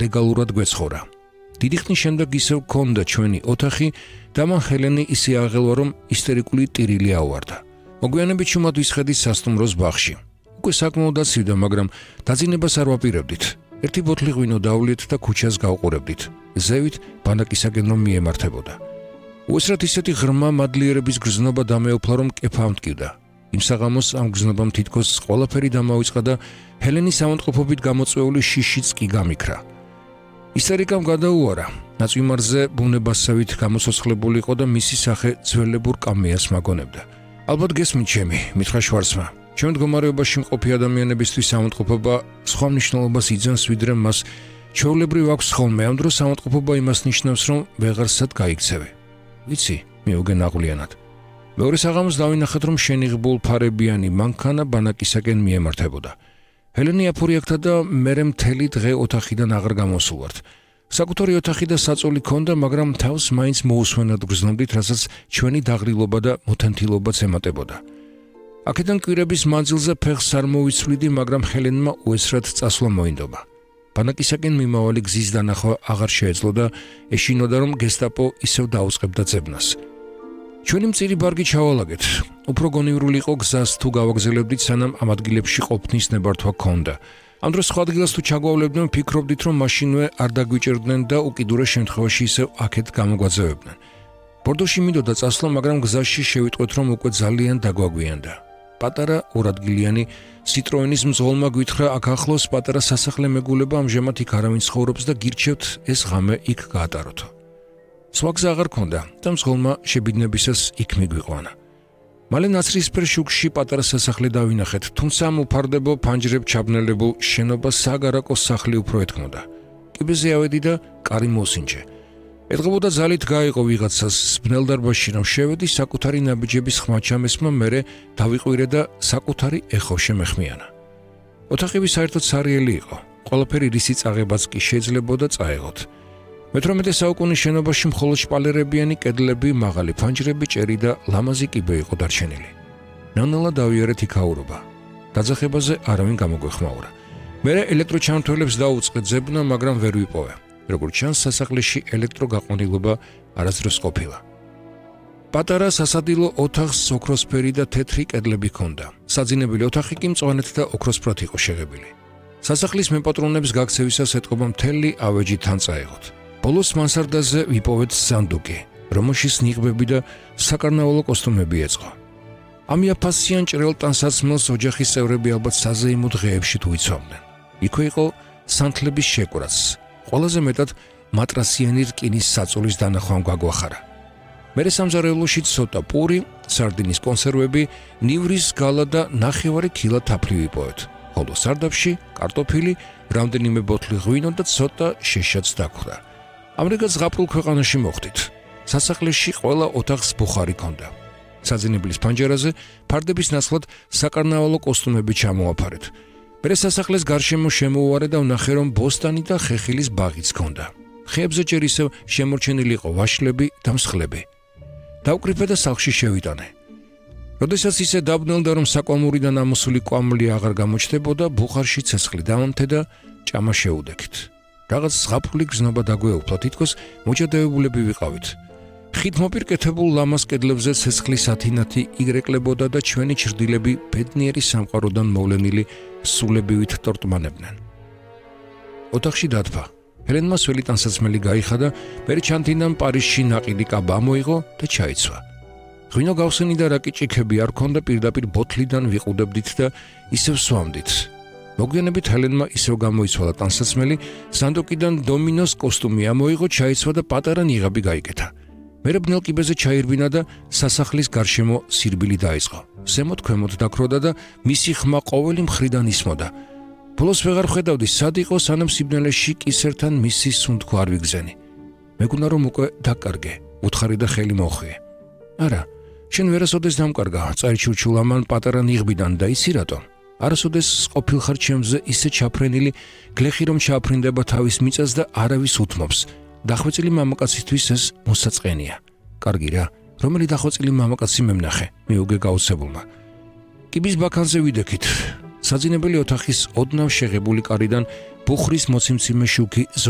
ლეგალურად გვეცხოვრა. დიდი ხნის შემდეგ ისევ გქონდა ჩვენი ოთახი და მან ჰელენი ისე აღელვა, რომ ისტერიკული ტირილი აუვარდა. მოგვიანებით შუმად ვისხედით სასტუმროს ბაღში. უკვე საკმაოდ დაცივდა, მაგრამ დაძინებას არ ვაპირებდით. ერთი ბოთლი ღვინო დავლიეთ და ქუჩას გავყურებდით. ზევით ბანაკისაკენ რომ მიემართებოდა. უესრად ისეთი ღრმა მადლიერების გრძნობა დამეუფლა, რომ კეფა ამტკივდა. იმ საღამოს ამ გრძნობამ თითქოს ყველაფერი დამავიწყდა და ჰელენის ავადმყოფობით გამოწვეული შიშიც კი გამიქრა. ისტერიკამ გადაუარა. ნაწვიმარზე ბუნებასავით გამოსოცხლებული იყო და მისი სახე ძველებურ კამეას მაგონებდა. ალბათ გესმით ჩემი, მითხრა შვარცმა. ჩვენ მდგომარეობაში მყოფი ადამიანებისთვის ავადმყოფობა სხვა მნიშვნელობას იძენს, ვიდრე მას ჩვეულებრივ აქვს ხოლმე. ამ დროს ავადმყოფობა იმას ნიშნავს, რომ ვეღარსად გაიქცევი. ვიცი, მიუგენ აღვლიანად. მეორე საღამოს დავინახეთ, რომ შენიღბულ ფარებიანი მანქანა ბანაკისაკენ მიემართებოდა. ჰელენი აფორიაქთა და მერე მთელი დღე ოთახიდან აღარ გამოსულვართ. საკუთარი ოთახი და საწოლი ქონდა, მაგრამ თავს მაინც მოусვენად გრძნობდით, რასაც ჩვენი დაღრილობა და მოთენთილობაც ემატებოდა. აქედან კვირების მანძილზე ფეხს არ მოვიცვლიდი, მაგრამ ჰელენმა უესრად წასვლა მოინდომა. ბანაკისაკენ მიმავალი გზის დანახვა აღარ შეეძლო და ეშინოდა, რომ გესტაპო ისევ დაუწყებდა ძებნას. ჩვენი მწირი ბარგი ჩავალაგეთ. უფრო გონივრული იყო გზას თუ გავაგზელებდით, სანამ ამ ადგილებში ყოფნის ნებართვა გქონდა. ამ დროს სხვა ადგილას თუ ჩაგვავლებდნენ, ვფიქრობდით, რომ მაშინვე არ დაგვიჭერდნენ და უკიდურეს შემთხვევაში ისევ აქეთ გამოგვაძევებდნენ. ბორდოში მინდოდა წასვლა, მაგრამ გზაში შევიტყვეთ, რომ უკვე ძალიან დაგვაგვიანდა. პატარა ორადგილიანი Citroenis მძღოლმა გვითხრა, აქ ახლოს პატარა სასახლე მეგულება, ამჟამად იქ არავინ ცხოვრობს და გირჩევთ ეს ღამე იქ გაატაროთ. სხვა გზა აღარ ქონდა და მძღოლმა შებიდნებისას იქ მიგვიყვანა. მალე ნაცრისფერ შუქში პატარა სასახლე დავინახეთ, თუმცა ამ უფარდებო ფანჯრებ ჩაბნელებულ შენობას საგარაკოს სახლი უფრო ეთქმოდა. კიბეზე ავედი და კარი მოსინჯე. ეთყობოდა ძალით გაიყო ვიღაცას ბნელ დარბაზში რომ შევედი, საკუთარი ნაბიჯების ხმა ჩამესმა, მერე დავიყვირე და საკუთარი ეხო შემეხმიანა. ოთახები საერთოდ სარიელი იყო. ყველაფერი რისი წაღებაც კი შეიძლებოდა წაეღოთ. მე-18 საუკუნის შენობაში მხოლოდ შპალერებიანი კედლები, მაღალი ფანჯრები, ჭერი და ლამაზი კიბე იყო დარჩენილი. ნანალა დავიარეთ იქაურობა. დაძახებაზე არავინ გამოგვეხმაურა. მერე ელექტროჩამთველებს დაუწყე ძებნა, მაგრამ ვერ ვიპოვე. როგორც ჩანს, სასახლეში ელექტროგაყრილობა არასდროს ყოფილა. პატარა სასადილო ოთახს ოქროსფერი და თეთრი კედლები ჰქონდა. საძინებელი ოთახი კი მწვანეთ და ოქროსფრად იყო შეღებილი. სასახლის მეპატრონებს გაქცევისას ეთყობა მთელი ავეჯი თან წაეღოთ. ბოლოს მანსარდაზე ვიპოვეთ სანდუკი, რომელშიც ნიღბები და საკარნავალო კოსტუმები ეწყო. ამ იაფასიან ჭრელ ტანსაცმელს ოჯახის წევრები ალბათ საზეიმო დღეებში თუ იცავდნენ. იქვე იყო სანთლების შეკვრაც. ყველაზე მეტად მატრასიანი რკინის საწოლის დანახვამ გაგვახარა. მერე სამზარეულოში ცოტა პური, სარდინის კონსერვები, ნივრის გალა და ნახევარი ქილა თაფლი ვიპოვეთ. ხოლო სარდაფში კარტოფილი, რამდენიმე ბოთლი ღვინო და ცოტა შეშაც დაგვხდა. ამრიგად ზღაპრულ ქვეყანაში მოხვდით. სასახლეში ყველა ოთახს ბუხარი ჰქონდა. საძინებლის ფანჯარაზე ფარდების ნაცვლად საკარნავალო კოსტუმები ჩამოაფარეთ. მერე სასახლეს გარშემო შემოვარე და ვნახე, რომ ბოსტანი და ხეხილის ბაღიც ჰქონდა. ხეებზე ჯერ ისევ შემორჩენილი იყო ვაშლები და მსხლები. დავკრიფე და სახლში შევიტანე. როდესაც ისე დაბნელდა, რომ საკვამურიდან ამოსული კვამლი აღარ გამოჩნდებოდა, ბუხარში ცეცხლი დავამთე და ჭამა შეუდექით. რაღაც ზღაპრული გზნობა დაგვეუფლა, თითქოს მოჭადეებულები ვიყავით. ხით მოპირკეთებულ ლამაზ კედლებზე ცეცხლის ათინათი იგრეკლებოდა და ჩვენი ჩრდილები ბედნიერი სამყაროდან მოვლენილი სულებივით ტორტმანებდნენ. ოთახში დათფა. ჰელენმა სველი ტანსაცმელი გაიხადა, მერე ჩანთინამ პარიზში ნაყიდი კაბა მოიღო და ჩაიცვა. ღვინო გავსენი და რაკიჭიქები არ ქონდა, პირდაპირ ბოთლიდან ვიყუდებდით და ისევ სვამდით. მოგვიანებით ჰელენმა ისევ გამოიცვალა ტანსაცმელი, სანდოკიდან დომინოს კოსტუმი ამოიღო, ჩაიცვა და პატარა ნიღაბი გაიკეთა. მერე ბნელ კიბეზე ჩაირბინა და სასახლის გარშემო სირბილი დაიწყო. ზემოთ ქვემოთ დაქროდა და მისი ხმა ყოველი მხრიდან ისმოდა. ბოლოს ვეღარ ხედავდი, სად იყო, სანამ სიბნელეში კისერთან მისი სუნთქვა არ ვიგზენი. მეგონა რომ უკვე დაკარგე, უთხარი და ხელი მოხვიე. არა, შენ ვერასოდეს დამკარგა, წარჩურჩულ ამან პატარა ნიღბიდან და იცი რატომ? არასოდეს ყოფილ ხარ ჩემზე ისე ჩაფრენილი, გლეხი რომ ჩაფრინდება თავის მიწას და არავის უთმობს. დახვეწილი მამაკაცისთვის ეს მოსაწყენია. კარგი რა, რომელი დახვეწილი მამაკაცი მემნახე, მიუგე გაუცებულმა. კიბის ბაქანზე ვიდექით. საძინებელი ოთახის ოდნავ შეღებული კარიდან ბუხრის მოციმციმე შუქი